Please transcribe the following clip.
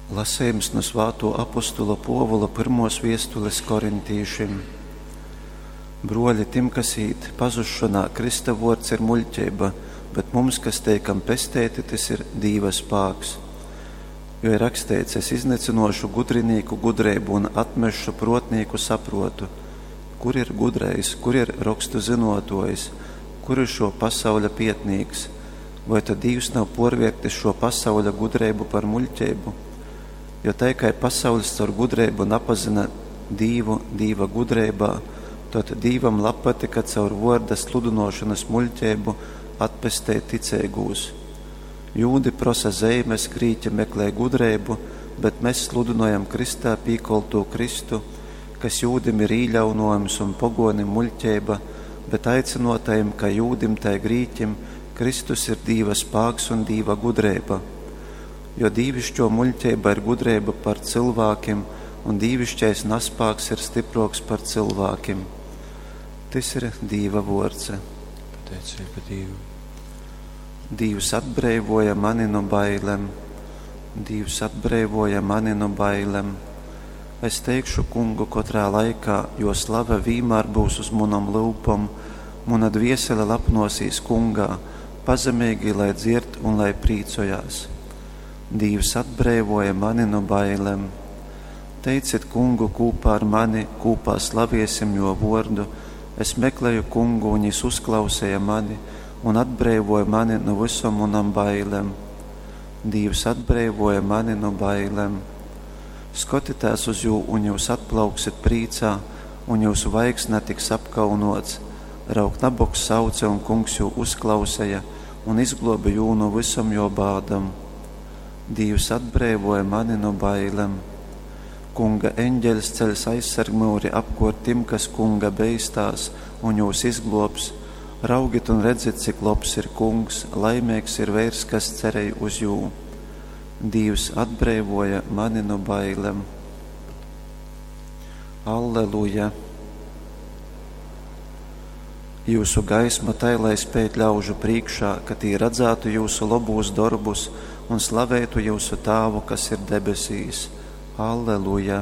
Lasejums nu svātuo apostula Puovula pyrmuos viestulis korintīšim. Bruoli, tim, kas īt pazusšonā, Krysta vuords ir muļķeiba, bet mums, kas teikam pesteiti, tys ir Dīva spāks. Jo ir raksteits, es iznycynuošu gudrinīku gudreibu un atmesšu pruotnīku sapruotu. Kur ir gudrais, kur ir rokstu zynuotuojs, kur ir šuo pasauļa pietnīks? Voi tad Dīvs nav puorviertis šuo pasauļa gudreibu par muļķeibu? Jo tai kai pasauļs caur gudreibu napazyna Dīvu Dīva gudreibā, tod Dīvam labpatyka caur vuorda sludynuošonys muļķeibu atpesteit ticeigūs. Jūdi prosa zeimes, grīķi meklej gudreibu, bet mes sludynojam krystā pīkoltū Kristu, kas jūdim ir īļaunuojums un poguonim muļķeiba, bet aicynuotajim, kai jūdim, tai grīķim, Kristus ir Dīva spāks un Dīva gudreiba. Jo dīvišķo muļķeiba ir gudreiba par cylvākim, un dīvišķais naspāks ir stypruoks par cylvākim. Tys ir Dīva vuords. Pateicība Dīvam. Dīvs atbreivuoja mani nu bailem. Dīvs atbreivuoja mani nu bailem. Es teikšu Kungu kotrā laikā, jo slave vīmār būs uz munom lyupom. Muna dviesele lapnosīs Kungā, pazemeigī lai dzierd un lai prīcojās. Dīvs atbreivuoja mani nu bailem. Teicit Kungu kūpā ar mani, kūpā slaviesim juo vuordu. Es meklēju Kungu, un jis uzklauseja mani un atbreivuoja mani nu vysom munom bailem. Dīvs atbreivuoja mani nu bailem. Skotitēs uz jū, un jūs atplauksit prīcā, un jūsu vaigs natiks apkaunots. Raug, nabogs sauce, un Kungs jū uzklauseja un izgluobe jū nu vysom juo bādom. Dīvs atbreivuoja mani nu bailem. Kunga eņģeļs ceļs aizsargmyuri apkuort tim, kas Kunga beistās, un jūs izgluobs. Raugit un redzit, cik lobs ir Kungs, laimeigs ir veirs, kas cerej uz jū. Dīvs atbreivuoja mani nu bailem. Alleluja! Jūsu gaisma tai lai speid ļaužu prīškā, ka tī radzātu jūsu lobūs dorbus un slavētu jūsu Tāvu, kas ir debesīs. Alleluja!